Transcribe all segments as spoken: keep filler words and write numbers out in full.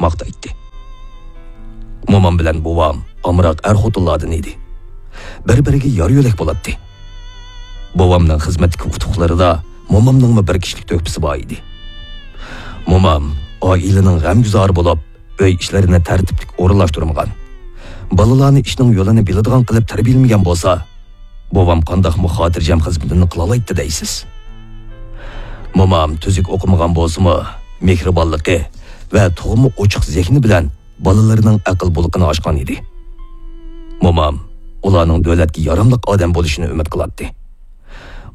ماختايتتى. مومام بىلەن بوۋام ئامراق ئەر-خوتۇنلاردىن ئىدى. بىر-بىرىگە يار-يۆلەك بولاتتى. بوۋامنىڭ خىزمەتتىكى ئۇتۇقلىرىدا مومامنىڭمۇ بىر كىشىلىك تۆھپىسى بار ئىدى. مومام ئائىلىنىڭ غەمگۈزارى بولۇپ، ئۆي ئىشلىرىنى تەرتىپلىك ئورۇنلاشتۇرمىغان، بالىلارنى ئىشنىڭ يولىنى بىلىدىغان قىلىپ تەربىيەلىمىگەن بولسا، بوۋام قانداقمۇ خاتىرجەم خىزمىتىنى قىلالايتتى دەيسىز. مومام تۈزۈك ئوقۇمىغان بولسىمۇ، مېھرىبانلىقى ۋە تۇغما ئوچۇق زېھنى بىلەن بالىلىرىنىڭ ئەقىل بۇلىقىنى ئاچقان ئىدى. مومام ئۇلارنىڭ دۆلەتكە ياراملىق ئادەم بولۇشىنى ئۈمىد قىلاتتى.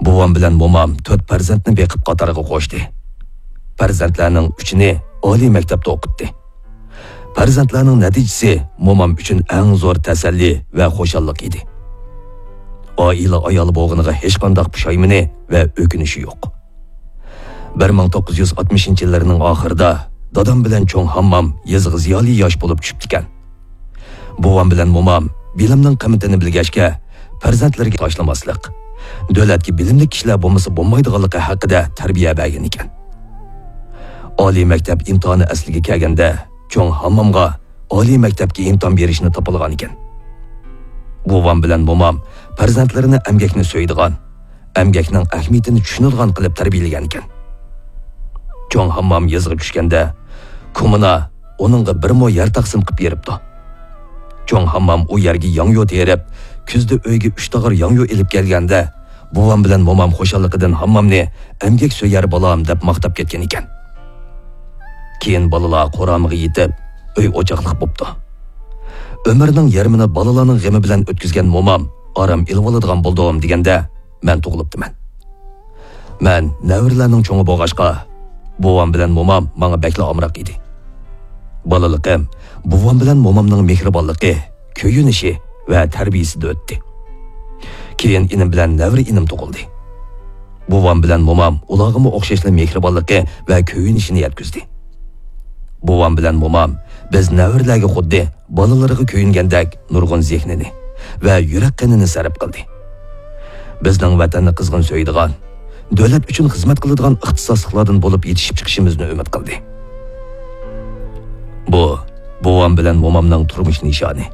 بوۋام بىلەن مومام تۆت پەرزەنتنى بېقىپ قاتارغا قوشتى. پەرزەنتلەرنىڭ ئۈچىنى ئالىي مەكتەپتە ئوقۇتتى. پەرزەنتلەرنىڭ نەتىجىسى مومام ئۈچۈن ئەڭ زور تەسەللى ۋە خۇشاللىق ئىدى. ئائىلە ئايالى بولغىنىغا ھېچقانداق پۇشايمىنى ۋە ئۆكۈنۈشى يوق. بىر مىڭ توققۇز يۈز ئاتمىشىنچى يىللىرىنىڭ ئاخىرىدا دادام بىلەن چوڭ ھاممام يېزىغا زىيالىي ياش بولۇپ چۈشۈپتىكەن. بوۋام بىلەن مومام بىلىمنىڭ قىممىتىنى بىلگەچكە، پەرزەنتلىرىگە تاشلىماسلىق، دۆلەتكە بىلىملىك كىشىلەر بولمىسا بولمايدىغانلىقى ھەققىدە تەربىيە بەرگەن ئىكەن. ئالىي مەكتەپ ئىمتىھانى ئەسلىگە كەلگەندە، چوڭ ھاممامغا ئالىي مەكتەپكە ئىمتىھان بېرىشنى تاپىلىغان ئىكەن. بوۋام بىلەن مومام پەرزەنتلىرىنى ئەمگەكنى سۆيىدىغان، ئەمگەكنىڭ ئەھمىيىتىنى چۈشىنىدىغان قىلىپ تەربىيەلىگەنىكەن. چوڭ ھاممام يېزىغا چۈشكەندە، كوممۇنا ئۇنىڭغا بىر مو يەر تەقسىم قىلىپ بېرىپتۇ. چوڭ ھاممام ئۇ يەرگە ياڭيۇ تېرىپ، كۈزدە ئۆيگە ئۈچ تاغار ياڭيۇ ئېلىپ كەلگەندە، بوۋام بىلەن مومام خۇشاللىقىدىن ھاممامنى «ئەمگەك سۆيەر بالام» دەپ ماختاپ كەتكەن ئىكەن. كېيىن بالىلار قورامىغا يېتىپ، ئۆي ئوچاقلىق بوپتۇ. ئۆمرىنىڭ يېرىمىنى بالىلارنىڭ غېمى بىلەن ئۆتكۈزگەن مومام ئارام ئېلىۋالىدىغان بولدۇم دېگەندە، مەن تۇغۇلۇپتىمەن. مەن نەۋرىلەرنىڭ چوڭى بولغاچقا، بوۋام بىلەن مومام ماڭا بەكلا ئامراق ئىدى. بالىلىقىم بوۋام بىلەن مومامنىڭ مېھرىبانلىقى، كۆيۈنۈشى ۋە تەربىيىسىدە ئۆتتى. كېيىن ئىنىم بىلەن نەۋرە ئىنىم تۇغۇلدى. بوۋام بىلەن مومام ئۇلارغىمۇ ئوخشاشلا مېھرىبانلىقى ۋە كۆيۈنۈشىنى يەتكۈزدى. بوۋام بىلەن مومام بىز نەۋرىلەرگە خۇددى بالىلىرىغا كۆيۈنگەندەك نۇرغۇن زېھنىنى ۋە يۈرەك قېنىنى سەرپ قىلدى. بىزنىڭ ۋەتەننى قىزغىن سۆيىدىغان، دۆلەت ئۈچۈن خىزمەت قىلىدىغان ئىختىساسلىقلاردىن بولۇپ يېتىشىپ چىقىشىمىزنى ئۈمىد قىلدى. بۇ، بوۋام بىلەن مومامنىڭ تۇرمۇش نىشانى.